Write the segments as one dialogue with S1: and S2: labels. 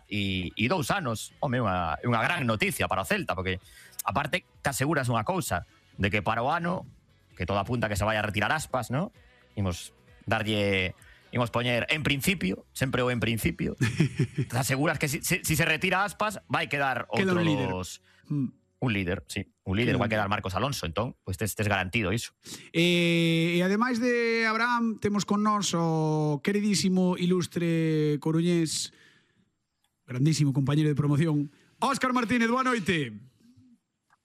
S1: e 2 anos. Home, é unha gran noticia para o Celta, porque aparte te aseguras unha cousa, de que para o ano, que todo apunta que se vai a retirar Aspas, ¿no? Imos poñer en principio, sempre o en principio, te aseguras que si se retira Aspas, vai quedar outro dos... Un líder, sí. Un líder, vai quedar Marcos Alonso, entón, pois tes garantido iso.
S2: E ademais de Abraham, temos con nós o queridísimo, ilustre coruñés, grandísimo compañero de promoción, Óscar Martínez, boa noite.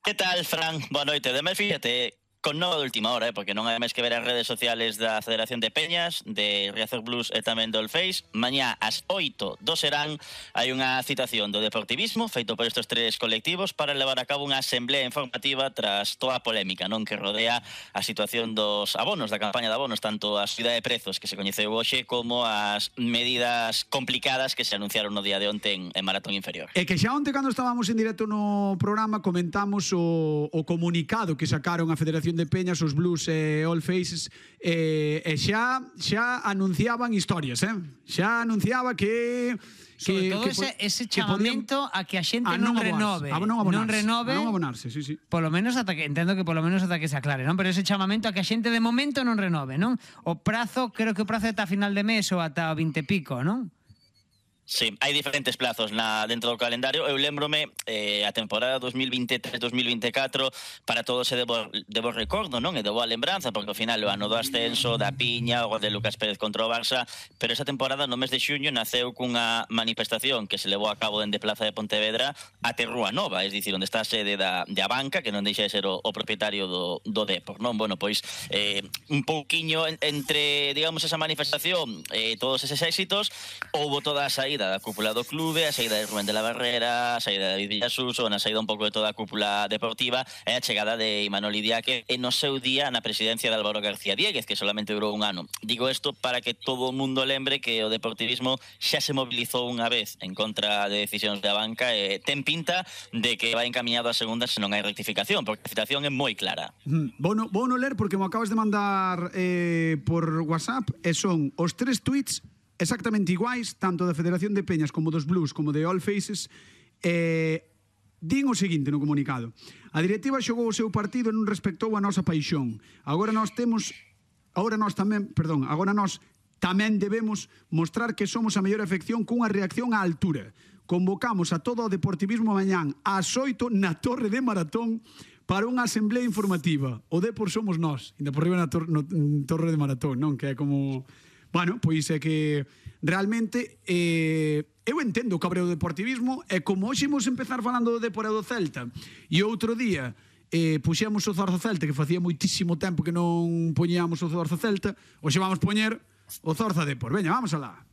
S3: Que tal, Fran? Boa noite. Ademais, fíjate, con nova de última hora, porque non hai máis que ver as redes sociales da Federación de Peñas, de Riazor Blues e tamén do Allface. Mañá ás 8 do serán hai unha citación do Deportivismo feito por estes 3 colectivos para levar a cabo unha asamblea informativa tras toda a polémica non que rodea a situación dos abonos, da campaña de abonos, tanto a subida de prezos que se coñeceu hoxe como as medidas complicadas que se anunciaron no día de onte en Maratón Inferior.
S2: E que xa onte, cando estábamos en directo no programa, comentamos o comunicado que sacaron a Federación de Peñas, os Blues e All Faces, e xa anunciaban historias, xa anunciaba que
S4: sobre todo ese chamamento a que a xente non renove, non
S2: abonarse, sí.
S4: Polo menos ata que entendo que polo menos ata que se aclare, non? Pero ese chamamento a que a xente de momento non renove, non? O prazo, creo que o prazo é ata final de mes ou ata o 20 e pico, non?
S3: Sí, hai diferentes plazos dentro do calendario. Eu lembrome a temporada 2023-2024 para todos se debo recordo, non? E debo a lembranza, porque ao final o ano do ascenso, da piña, o gol de Lucas Pérez contra o Barça, pero esa temporada no mes de xuño naceu cunha manifestación que se levou a cabo dende Plaza de Pontevedra até Rúa Nova, é dicir, onde está a sede da banca, que non deixa de ser o propietario do Depor, non? Bueno, pois un pouquiño entre, digamos, esa manifestación todos eses éxitos, houbo toda a saída da cúpula do clube, a saída de Rubén de la Barrera, a saída de David Villasuso, a saída un pouco de toda a cúpula deportiva e a chegada de Imanol Idiáquez e no seu día na presidencia de Álvaro García Diéguez, que solamente durou un ano. Digo isto para que todo o mundo lembre que o deportivismo xa se mobilizou unha vez en contra de decisións da banca e ten pinta de que vai encaminhado a segunda se non hai rectificación, porque a citación é moi clara.
S2: Vou no ler porque me acabas de mandar por WhatsApp e son os 3 tweets exactamente iguais, tanto da Federación de Peñas como dos Blues como de All Faces. Din o seguinte no comunicado: a directiva xogou o seu partido e non respectou a nosa paixón. Agora nós tamén debemos mostrar que somos a mellor afección cunha reacción á altura. Convocamos a todo o deportivismo mañán ás 8 na Torre de Maratón para unha asamblea informativa. O Depor somos nós, ainda por riba na Torre de Maratón, non? Que é como... Bueno, pois é que realmente eu entendo o cabreo do deportivismo e como hoxe imos empezar falando do Depor e do Celta e outro día puxemos o Zorza Celta, que facía moitísimo tempo que non poñíamos o Zorza Celta, hoxe vamos poñer o Zorza Depor. Veña, vamos alá.